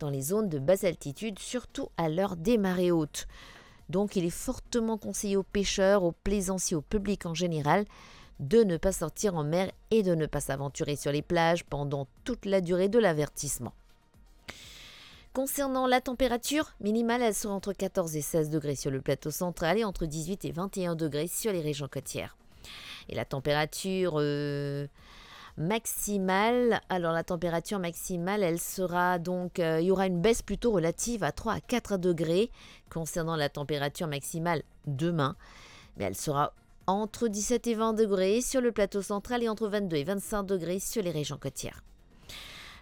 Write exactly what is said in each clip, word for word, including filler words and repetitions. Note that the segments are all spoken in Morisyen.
dans les zones de basse altitude, surtout à l'heure des marées hautes. Donc, il est fortement conseillé aux pêcheurs, aux plaisanciers, au public en général, de ne pas sortir en mer et de ne pas s'aventurer sur les plages pendant toute la durée de l'avertissement. Concernant la température minimale, elle sera entre quatorze et seize degrés sur le plateau central et entre dix-huit et vingt et un degrés sur les régions côtières. Et la température, euh, maximale, alors la température maximale, elle sera donc, euh, il y aura une baisse plutôt relative à trois à quatre degrés concernant la température maximale demain, mais elle sera entre dix-sept et vingt degrés sur le plateau central et entre vingt-deux et vingt-cinq degrés sur les régions côtières.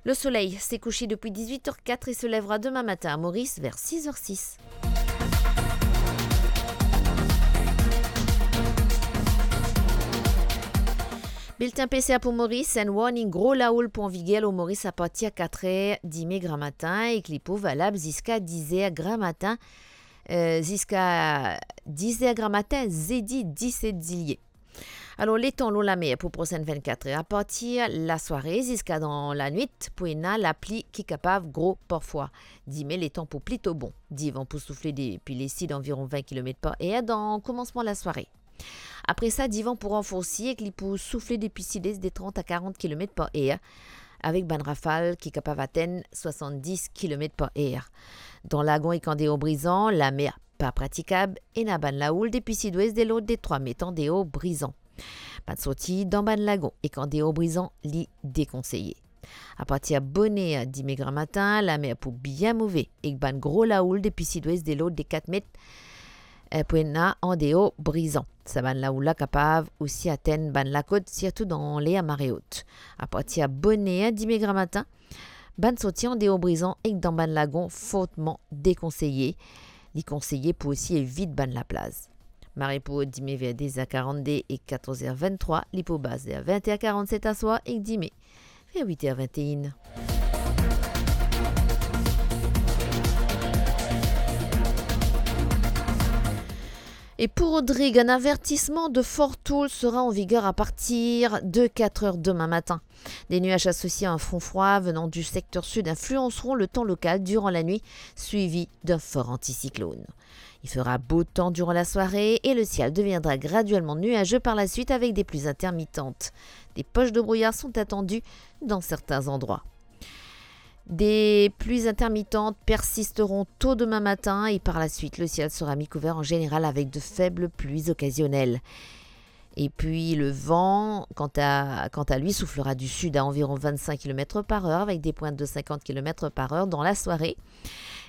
Le soleil s'est couché depuis dix-huit heures quatre et se lèvera demain matin à Maurice vers six heures six. Bilten PCR pou Moris, enn warning gro laoul pou anviger lor Moris apartir katrer dime gramatin ek li pou valab ziska dizer gramatin, eh, ziska dizer gramatin, zedi diset zilie. Alor, letan lor lamer pou prosenn vennkat er, apartir lasware ziska dan lanwit, pou ena lapli ki kapav gro parfwa. Dime, letan pou plito bon. Divan pou soufle depi lesid anviron vin kilomet par er dan koumansman lasware. Apre sa, divan pou ranforsi ek li pou soufle depi sidwes de trant a karant kilomet par er, avek bann rafal ki kapav atenn swasanndis kilomet par er. Dan lagon ek andeor Brizan, lamer pa pratikab, ena bann laoul depi sidwes de lord de trwa met andeor Brizan. Bann sorti dan bann lagon ek andeor Brizan, li dekonseye. Apartir boner dime gramatin, lamer pou bien move ek bann gro laoul depi sidwes de lord de kat met, eh, pou ena andeor Brizan. Sa bann laoul la kapav osi atenn bann lakot, sirtou dan ler mare ot. Apartir boner dime gramatin, bann sorti andeor Brizan ek dan bann lagon fortman dekonseye. Li konseye pou osi evit bann laplaz. Mare pou dime ver de er karannde ek katorz er venntrwa, li pou bas ver vin er karannset aswar ek dime ver wit er vinn-e-enn. Et pour Rodrigues, un avertissement de forte houle sera en vigueur à partir de quatre heures demain matin. Des nuages associés à un front froid venant du secteur sud influenceront le temps local durant la nuit, suivi d'un fort anticyclone. Il fera beau temps durant la soirée et le ciel deviendra graduellement nuageux par la suite avec des pluies intermittentes. Des poches de brouillard sont attendues dans certains endroits. Des pluies intermittentes persisteront tôt demain matin et par la suite, le ciel sera mi-couvert en général avec de faibles pluies occasionnelles. Et puis le vent, quant à, quant à lui, soufflera du sud à environ vingt-cinq kilomètres par heure avec des pointes de cinquante kilomètres par heure dans la soirée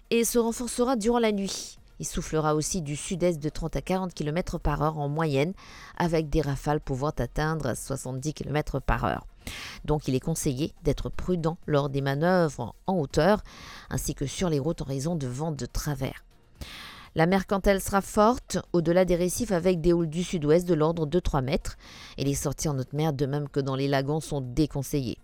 et se renforcera durant la nuit. Il soufflera aussi du sud-est de trente à quarante kilomètres par heure en moyenne, avec des rafales pouvant atteindre soixante-dix kilomètres par heure. Donc, il est conseillé d'être prudent lors des manœuvres en hauteur, ainsi que sur les routes en raison de vent de travers. La mer, quant à elle, sera forte au-delà des récifs avec des houles du sud-ouest de l'ordre de trois mètres. Et les sorties en haute mer, de même que dans les lagons, sont déconseillées.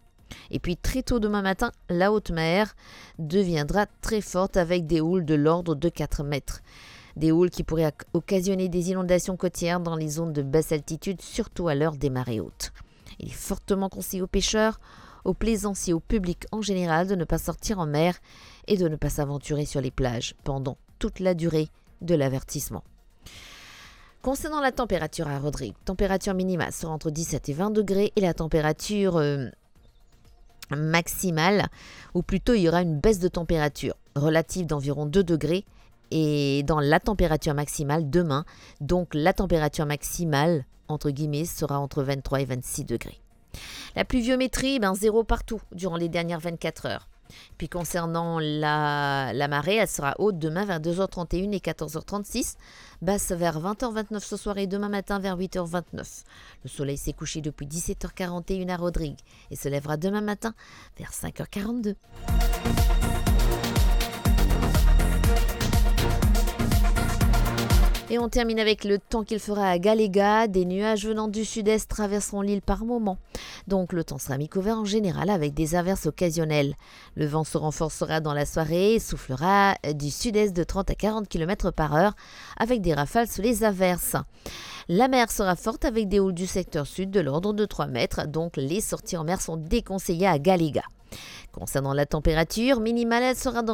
Et puis, très tôt demain matin, la haute mer deviendra très forte avec des houles de l'ordre de quatre mètres. Des houles qui pourraient oc-, occasionner des inondations côtières dans les zones de basse altitude, surtout à l'heure des marées hautes. Il est fortement conseillé aux pêcheurs, aux plaisanciers, au public en général de ne pas sortir en mer et de ne pas s'aventurer sur les plages pendant toute la durée de l'avertissement. Concernant la température à Rodrigues, température minimale sera entre dix-sept et vingt degrés et la température, euh, maximale, ou plutôt il y aura une baisse de température relative d'environ deux degrés et dans la température maximale demain, donc la température maximale, entre guillemets, sera entre vingt-trois et vingt-six degrés. La pluviométrie, ben, zéro partout durant les dernières vingt-quatre heures. Puis concernant la, la marée, elle sera haute demain vers deux heures trente et une et quatorze heures trente-six, basse vers vingt heures vingt-neuf ce soir et demain matin vers huit heures vingt-neuf. Le soleil s'est couché depuis dix-sept heures quarante et une à Rodrigues et se lèvera demain matin vers cinq heures quarante-deux. Et on termine avec le temps qu'il fera à Galléga. Des nuages venant du sud-est traverseront l'île par moments. Donc, le temps sera mi-couvert en général avec des averses occasionnelles. Le vent se renforcera dans la soirée et soufflera du sud-est de trente à quarante kilomètres par heure avec des rafales sous les averses. La mer sera forte avec des houles du secteur sud de l'ordre de trois mètres, donc les sorties en mer sont déconseillées à Galléga. Concernant la température minimale, elle sera d'environ